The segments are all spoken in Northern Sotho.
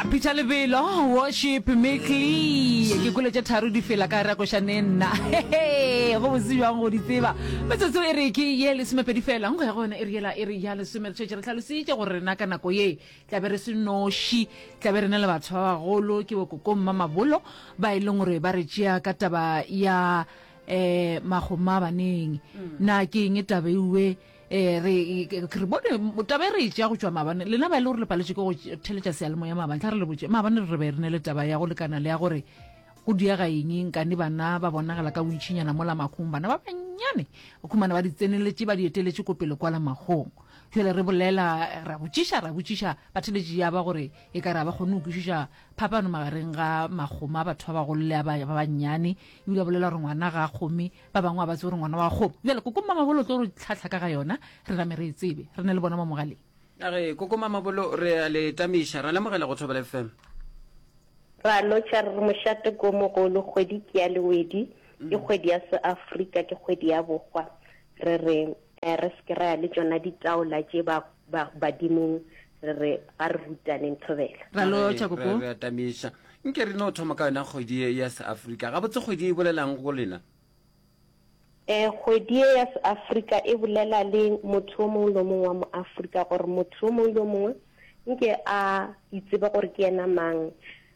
Peter Lebelo, Worship Mickley. Ke kwele tše tharo di fela ka rakošane nna. Go botse bjang go di tseba. Metsotso e re ke ye lesomepedi fela. Nko ya go yona e re yela e re ya lesome. Re šetše re hlalositše gore rena ka nako ye tla be re se noši, tla be re na le batho ba bagolo, ke bokoko Mmamabolo ba e leng gore ba re tšea ka taba ya um magoma baneng. Na ke eng taba ewe? Ee, re, re bone taba e re e tšea go tšwa maabane. Lena ba e le gore le paletše ke go theletša seyalemoya maabane, tla re le botše. Maabane re be re ne le taba ya go lekana le ya gore go diega eng nkane bana ba bonagala ka bontšinyana mola makgong, bana ba bannyane o khumana ba di tseneletše ba di eteletše ko pele kwala makgong. Jwale re bolela, ra botšiša, ra botšiša batheletši ya ba gore e ka re ga ba kgone go kwešiša phapano magareng ga makgomo a batho ba bagolo le a ba bannyane, ebile ba bolela gore ngwana ga a kgome Ba bangwe ga ba tsebe gore ngwana wa kgomo. Bjale Koko Mamabolo o tlo re tlhahla ka ga yona, re name re e tsebe. Re ne le bona mo mogaleng. A re, Koko Mamabolo, re a le tamiša, ra lemogela go Thobela FM. Ra lotšha re re mošate ko mogolo, kgwedi ke ya lewedi, ke kgwedi ya seAfrika, ke kgwedi ya bokgwa. Re re re se ke ra ya le tšona ditaola tše ba, ba, badimong, re re ga re rutaneng Thobela. Ra lotšha Koko. Re a tamiša. Nke re no thoma ka yona kgwedi ye ya seAfrika. Gabotse kgwedi ye e bolelang go lena? E, kgwedi ye ya seAfrika e bolela le motho yo mongwe le yo mongwe wa moAfrika gore motho yo mongwe le yo mongwe nke a itsebe gore ke yena mang.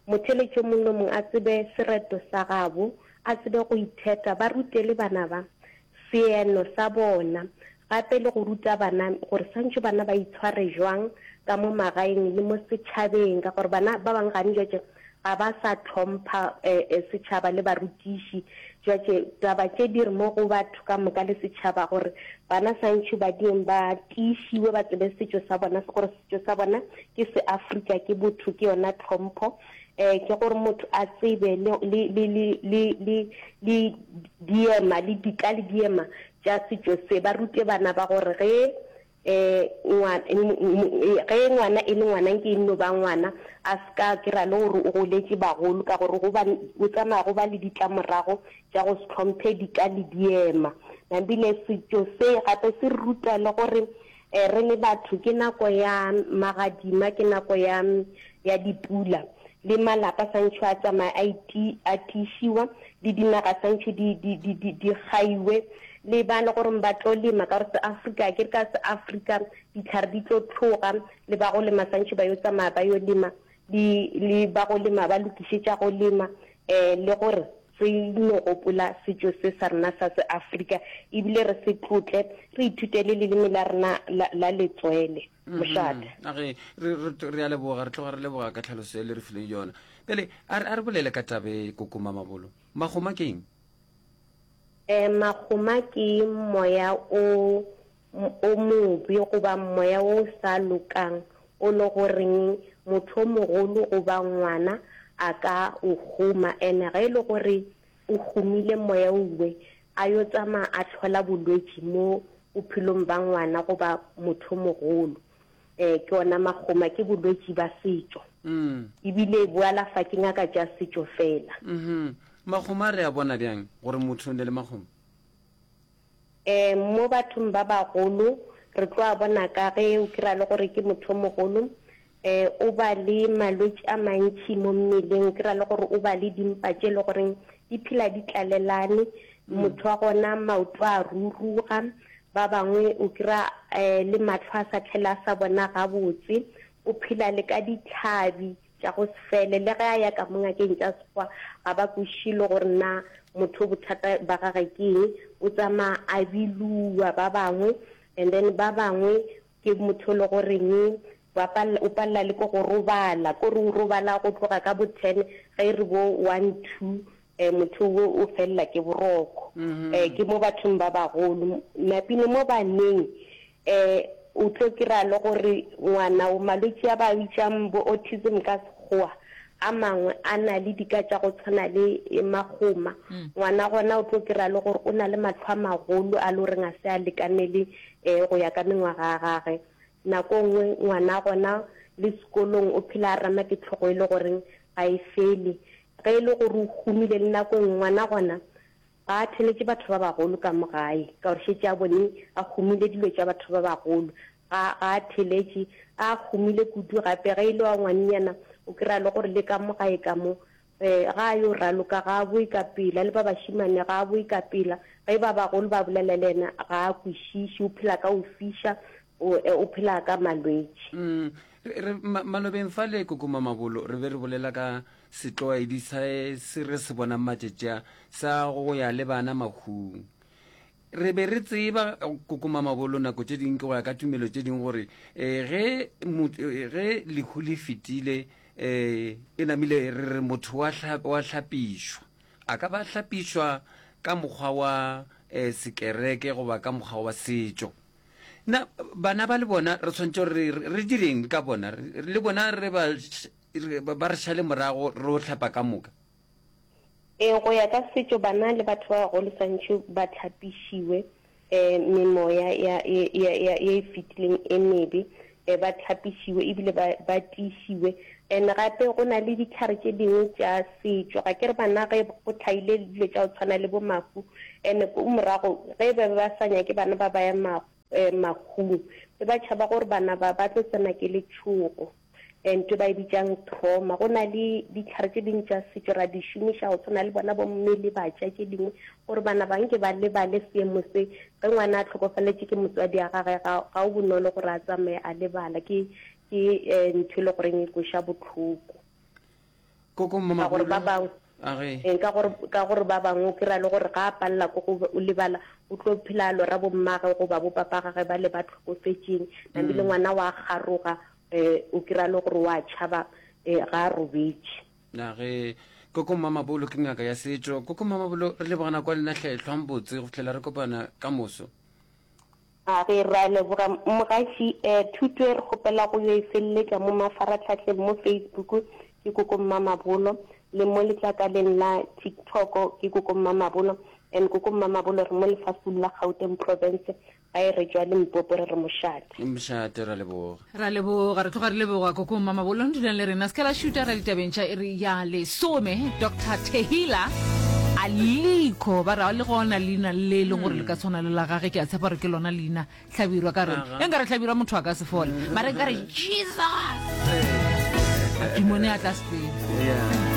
Motheeletši yo mongwe le yo mongwe a tsebe sereto sa gabo, a tsebe go itheta, ba rute le bana ba seeno sa bona, gape le go ruta bana gore swantšwe bana ba itshware jwang ka mo magaeng le mo setšhabeng, ka gore bana ba bangwe gane jwatše ga ba sa hlompha setšhaba le barutiši. Jwatše taba tše di re mo go batho ka moka le setšhaba gore bana swantšwe ba dieng ba tiišiwe ba tsebe setšo sa bona, gore setšo sa bona ke seAfrika, ke botho, ke yona tlhompho. Eh, ke gore motho a tsebe le, le, le, le, le, le, le diema, le dika le diema tša setšo se. Ba rute bana ba gore ge, eh, ngwa, ge ngwana e le ngwana, nke e nno ba ngwana, a se ka kry-a le gore o goletše bagolo, ka gore go ba, o tsamaya go ba le ditlamorago tša go se hlomphe dika le diema. Nabile setšo se gape se re ruta le gore Re le batho ke nako ya magadima, ke nako ya, ya dipula. Le malapa santšho a tsamaya a iti, a tiišiwa, le dinaga santšho di, di, di, di, di gaiwe. Le ba le gore ba tlo lema, ka gore seAfrika, ke re ka seAfrika dihlare di tlo tloga, le ba go lema santšho ba yo tsamaya ba yo lema, le, le ba go lema ba lokišetša go lema, um le gore Re no gopola setšo se sa rena sa se-Afrika ebile re se tlotle, re ithute le leleme la rena la, la letswele. Mošate. A ge, re, re, re a leboga, re tloga re leboga ka tlhaloso e le re fileng yona. Bjale, a re, a re bolele ka taba e, Koko Mamabolo. Magoma ke eng? Eh, magoma ke moya o, o mobe goba moya o sa lokang o le goreng motho o mogolo goba ngwana a ka o goma, ene ge e le gore o gomile moya owe a yo tsamaya a hlola bolwetši mo bophelong ba ngwana goba motho o mogolo. Um ke ona magoma, ke bolwetši ba setšo ebile bo alafa ke ngaka tša setšo fela. Magoma re a bona bjang gore motho o ne le magoma? Um mo bathong ba bagolo re tlo a bona ka ge o kry-a le gore ke motho o mogolo um o ba le malwetši a mantši mo mmeleng, o kry-a le gore o ba le dimpa tše e le goreng di phela di tlalelane, motho wa gona maoto a ruruga, ba bangwe o kry-a um le mahlo a sa tlhele a sa bona gabotse, o phela le ka ditlhabi. tša go se fele. Le ge a ya ka mo ngakeng tša Sekgowa ga ba kwešiše le gore na motho bothata ba gage ke eng, o tsamaya a biluwa ba bangwe and then ba bangwe ke motho le goreng ba palela, o palela le ke go robala, ko re o robala go tloga ka bo ten ge e re bo one two um motho o o felela ke boroko. Um ke mo bathong ba bagolo. Napile mo baneng um o tlo kry-a le gore ngwana o malwetši a ba a bitšang bo autism ka Sekgowa, a mangwe a na le dika tša go tshwana le magoma. Ngwana gona o tlo kry-a le gore o na le mahlo a magolo a le goreng a se a lekanele um go ya ka mengwaga ya gage. Nako e nngwe ngwana gona le sekolong o phela a rama ke tlhogo e le goreng ga e fele. Ge e le gore o humile le nako e nngwe ngwana gona ga a theletše batho ba bagolo ka mo gae ka gore šetše a bone a humile dilo tša batho ba bagolo. Ga, ga a theletše, a humile kudu gape ge e le wa ngwannyana. O kry-a le gore le ka mo gae ka mo um ga a yo raloka ga a boe ka pela, le ba bašemane ga a boe ka pela. Ge ba bagolo ba bolela le yena ga a kwešiše, o phela ka go fiša, o, o phela ka malwetši. Mm, re, re, ma, malobeng fale Koko Mamabolo re be re bolela ka setlwaedi sa se re se bonang matšatši a sa go ya le bana mahung. Re be re tseba Koko Mamabolo nako tše dingwe ke go ya ka tumelo tše dingwe gore eh, ge, eh, ge lehu le fetile eh, e namile re re motho wa, hla, wa hlapišwa. A ka ba hlapišwa ka mokgwa wa eh, sekereke goba ka mokgwa wa setšo. Na bana ba le bona re tshwanetse gore re, re direng ka bona? Le bona re ba, ba re šale morago re o hlapa ka moka? Ee, go ya ka setšo bana le batho ba bagolo swantšhe ba tlhapišiwe um memoya ya, ya, ya, ya, ye e fetileng e mebe, um ba tlhapišiwe ebile ba, ba tiišiwe. And gape go na le ditlhare tše dingwe tša setšo, ga ke re bana ge go tlhaile dilo tša go tshwana le bo mahu, and ko morago ge ba be ba sa nyake bana ba ba ya mahung, be ba tšhaba gore bana ba ba tlo tsena ke letšhogo. Ntho e ba e bitšang trauma. Go na le ditlhare tše dingwe tša setšo ra di šomiša go tshwana le bona bo mme le batša tše dingwe gore bana ba nke ba lebale seemo se. Ge ngwana a hlokofaletše ke motswadi wa gagwe ga, ga o bonolo gore a tsamaye a lebala. Ke, ke ntho e le goreng e kweša bohloko. Koko Ka gore ba bangwe, Age. ka gore, ka gore ba bangwe o kry-a le gore ga a palela ko go lebala o tlo phela a lora bommagwe goba bo papa gagwe ba le ba hlokofetšeng. Namile ngwana wa garoga um o kry-a le gore wa tšhaba um ga a robetše. Na ge Koko Mmamabolo ke ngaka ya setšo. Koko Mmamabolo, re leboga nako ya lena hle, hlwang botse go fihlela re kopana ka moso. A ge ra leboga mogaši. Um thuto e re kgopela go yo e feleletša mo mafaratlhahleng mo Facebook ke Koko Mmamabolo le mo letlakaleng la TikTok ke Koko Mmamabolo and Koko Mmamabolo re mo lefaseng la Gauteng Province Ga e re tšwa Limpopo re re mošate. Mošate ra leboga. Ra leboga, re tloga re leboga Koko Mmamabolo dulang le rena. Se ka la šuta ra ditabeng tša iri ya lesome. Doctor Tehila Aliko ba ra le gona leina le e leng gore le ka tshwana le la gage ke a tshepa gore ke lona leina Hlabirwa ka re e nkare Hlabirwa motho a ka se fole mara nkare Jesus madimone a tla sepela. Yeah.